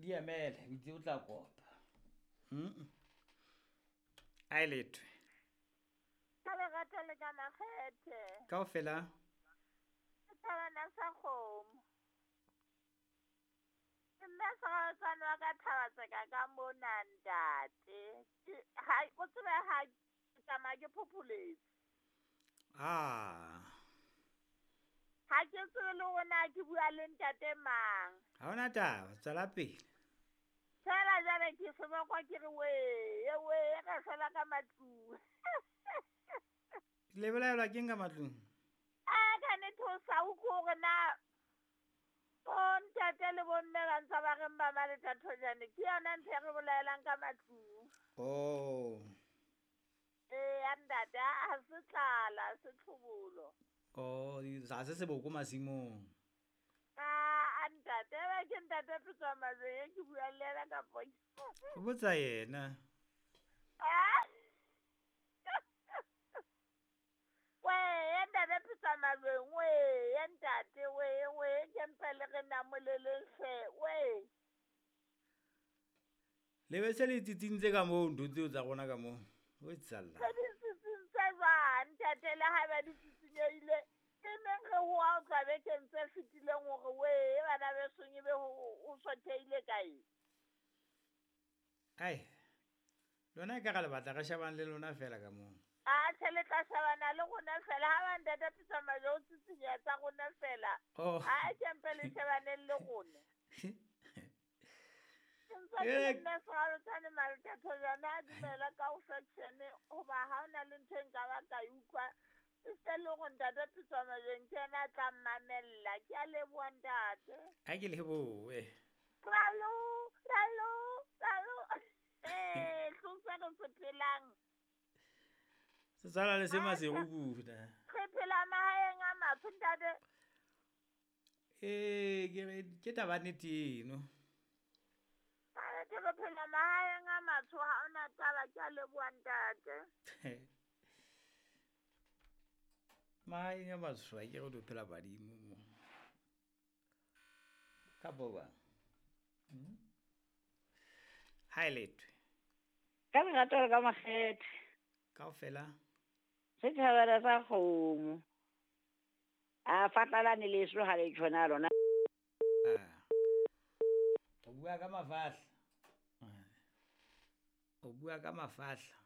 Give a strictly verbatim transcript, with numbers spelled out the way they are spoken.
Di emele, o itse o tla kopa. Mm. A lethwe. Ka lerato le ka makgethe. Kaofela. Thabana sa kgomo. Nna seratswana wa ka Thabatseka ka mona ntate. Ha o tsebe ha ke tsamaya ke phopholetse. Ah. Ha ke tsebe le hore na ke bua le ntate mang. Ha hona taba, tswela pele. Fela jwale ke sebokwa ke re wee, wee re fela ka matlung. Le bolaelwa keng ka matlung? A ka nnete o sa utlwe hore na bo ntate le bo mme ba ntse ba reng ba Maleta Thojane ke yona ntho e re bolaelang ka matlung. Oh. Ee, ya ntate, ha se tlala, ha se tlhobolo. Oh, ha se seboko masimong. Ah, ntate, ebe ke ntate Petswa Majweng e ke buang le yena kapo ke? O botsa yena. Ah. Wee, ntate Petswa Majweng, wee, ntate, wee, wee, ke mpe le re namoleleng hle, wee. Le be se le tsitsintse ka moo ntho tseo tsa rona ka moo. O tsalla. Se di tsitsintse jwang, ntate, le haeba di tsitsinyehile? Ke neng re ho a utlwa bekeng tse fetileng hore wee, bana besong ebe ho, ho sothehile kae? Ai, lona ekare le batla re shebane le lona fela ka moo. Ah, tjhe, le tla shebana le rona fela. Ha ba ntate Petswa Majweng o tsitsinya tsa rona fela. Oh. Ha ke mpe le shebaneng le rona. Ke ntse ke le nna Seralotshane Maleta Thojane a dumela ka ho faction hoba ha hona le ntho e nka ba ka e utlwa. E se le hore ntate Petswa Majweng ke yena a tla mmamella. Ke a leboha ntate. Ha ke lebohe. Ralo, ralo, ralo. Eh, hlosa re se phelang. Se tshwana le se Maseru kuna. Re phela mahaeng a matsho ntate. Eh, ke re ke taba nnete eno. Ke re phela mahaeng a matsho ha hona taba, ke a leboha ntate. Mahaeng a matsho ha ke re o phela badimo mo. Ka boba. Hmm? Ha e lethwe. Ka lerato le ka makgethe. Kaofela. Setjhabana sa kgomo. A fatlalane leso ha le tjhona lona. Ah. O bua ka mafahla. O bua ka mafahla.